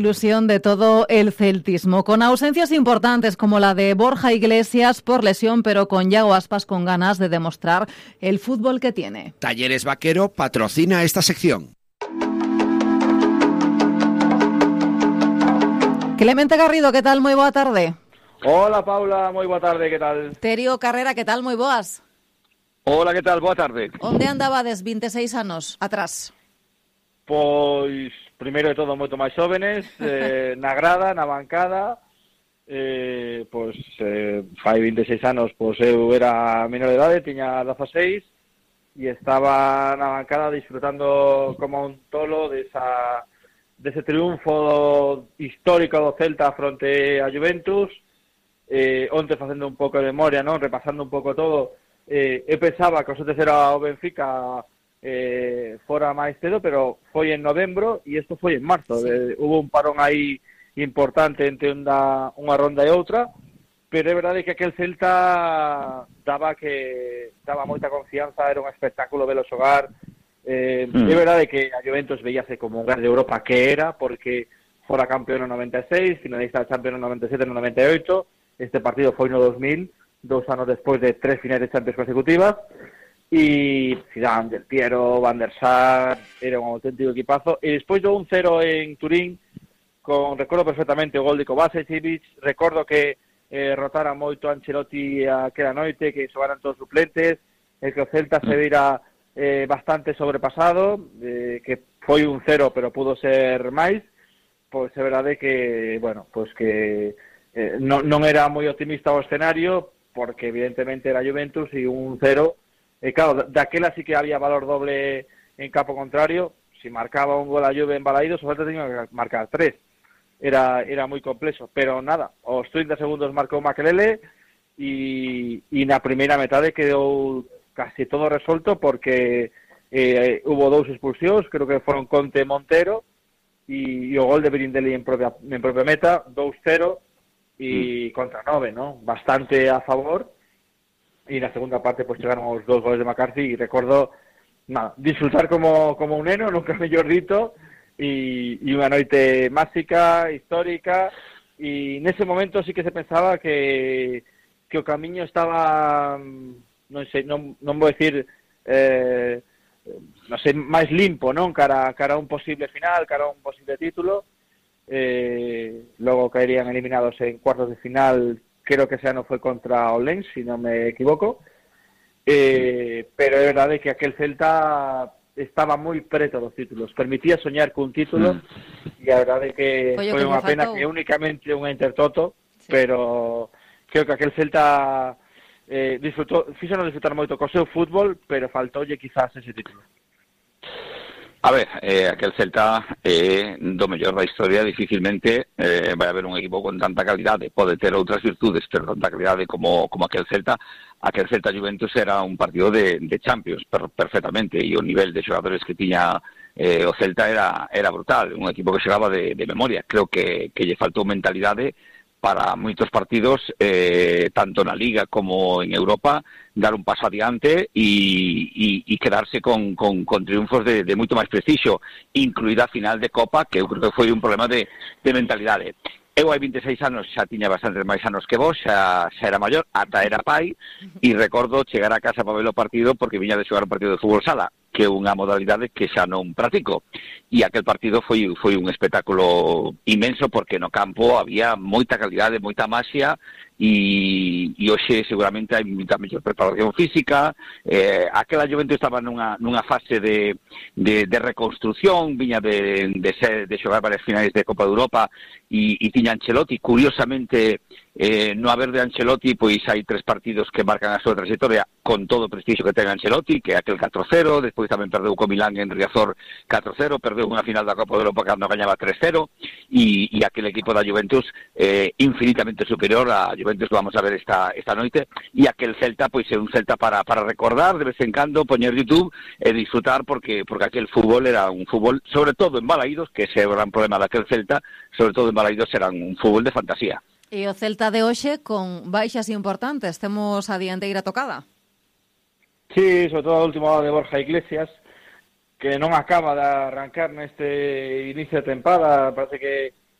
Ilusión de todo el celtismo, con ausencias importantes como la de Borja Iglesias por lesión, pero con Yago Aspas con ganas de demostrar el fútbol que tiene. Talleres Vaquero patrocina esta sección. Clemente Garrido, ¿qué tal? Muy boa tarde. Hola Paula, moi boa tarde, que tal? Terio Carrera, ¿qué tal? Moi boas. Hola, que tal? Boa tarde. Onde andabades 26 anos atrás? Pois, primeiro de todo, moito máis xóvenes, na grada, na bancada, fai 26 anos, pois eu era menor de idade, tiña 16, e estaba na bancada disfrutando como un tolo dese triunfo histórico do Celta fronte a Juventus. Onte facendo un pouco de memoria, non? Repasando un pouco todo, eu pensaba que o sorte era o Benfica fora máis cedo, pero foi en novembro e isto foi en marzo. Sí. Hubo un parón aí importante entre unha ronda e outra, pero é verdade que aquel Celta daba moita confianza, era un espectáculo velo xogar. É verdade que a Juventus veíase como un gran de Europa que era, porque fora campeón no 96, finalista da Champions no 97 no 98, este partido foi no 2000, 2 anos despois de 3 finais de Champions consecutivas. E Zidane, Del Piero, Van der Sar, era un auténtico equipazo. E despois do 1-0 en Turín, recordo perfectamente o gol de Kovacic, recordo que rotara moito Ancelotti aquela noite, que xogaran todos suplentes, que o Celta se vira bastante sobrepasado, que foi 1-0 pero pudo ser máis. Pois é verdade que, bueno, pois que non era moi optimista o escenario, porque evidentemente era Juventus e 1-0. Claro, daquela sí que había valor doble en campo contrario. Si marcaba un gol a Juve en Balaídos, o Celta tenía que marcar 3. Era moi complexo, pero nada, os 30 segundos marcou Makelele e na primeira metade quedou casi todo resolto, porque hubo 2 expulsións, creo que foron Conte e Montero, e o gol de Birindelli en propia meta, 2-0 e contra 9, ¿no? Bastante a favor. E na segunda parte pues chegaron os 2 goles de McCarthy e recordo disfrutar como un neno, nunca mellor dito, e unha noite máxica, histórica, e nese momento sí que se pensaba que o camiño estaba, non sei, non vou decir non sei, máis limpo, non? Cara a un posible final, cara a un posible título. Logo caerían eliminados en cuartos de final. Creo que ese ano foi contra o Lens, si non me equivoco, pero é verdade que aquel Celta estaba moi preto dos títulos, permitía soñar cun título, e a verdade que foi unha pena que únicamente unha Intertoto, sí. Pero creo que aquel Celta fixonos disfrutar moito co seu fútbol, pero faltoulle quizás ese título. A ver, aquel Celta do mellor da historia, dificilmente vai haber un equipo con tanta calidade. Pode ter outras virtudes, pero tanta calidade como aquel Celta. Aquel Celta Juventus era un partido de Champions, perfectamente, e o nivel de xogadores que tiña o Celta era brutal, un equipo que xogaba de memoria. Creo que lle faltou mentalidade para moitos partidos, tanto na Liga como en Europa, dar un paso adiante e quedarse con triunfos de moito máis preciso, incluída a final de Copa, que eu creo que foi un problema de mentalidade. Eu hai 26 anos xa tiña bastantes máis anos que vos, xa era maior, ata era pai, e recordo chegar a casa para ver o partido porque viña de xogar un partido de fútbol sala, que é unha modalidade que xa non practico. E aquel partido foi un espectáculo inmenso, porque no campo había moita calidade, moita maxia, e hoxe seguramente hai moita mellor preparación física. Aquela Juventus estaba nunha fase de reconstrucción, viña de xogar varias finais de Copa de Europa, e tiña Ancelotti. Curiosamente, no haber de Ancelotti, pois hai 3 partidos que marcan a súa trayectoria con todo o prestigio que ten Ancelotti, que é aquel 4-0, despois tamén perdeu co Milán en Riazor 4-0, perdeu unha final da Copa de Europa cando gañaba 3-0, e aquel equipo da Juventus infinitamente superior a Juventus que vamos a ver esta noite, e aquel Celta pois é un Celta para recordar de vez en cando, poñer YouTube e disfrutar, porque aquel fútbol era un fútbol, sobre todo en Balaídos, que ese é o gran problema daquel Celta, sobre todo en Balaídos era un fútbol de fantasía. E o Celta de hoxe con baixas importantes, temos a dianteira tocada. Sí, sobre todo a última hora de Borja Iglesias, que non acaba de arrancar neste inicio de tempada. Parece que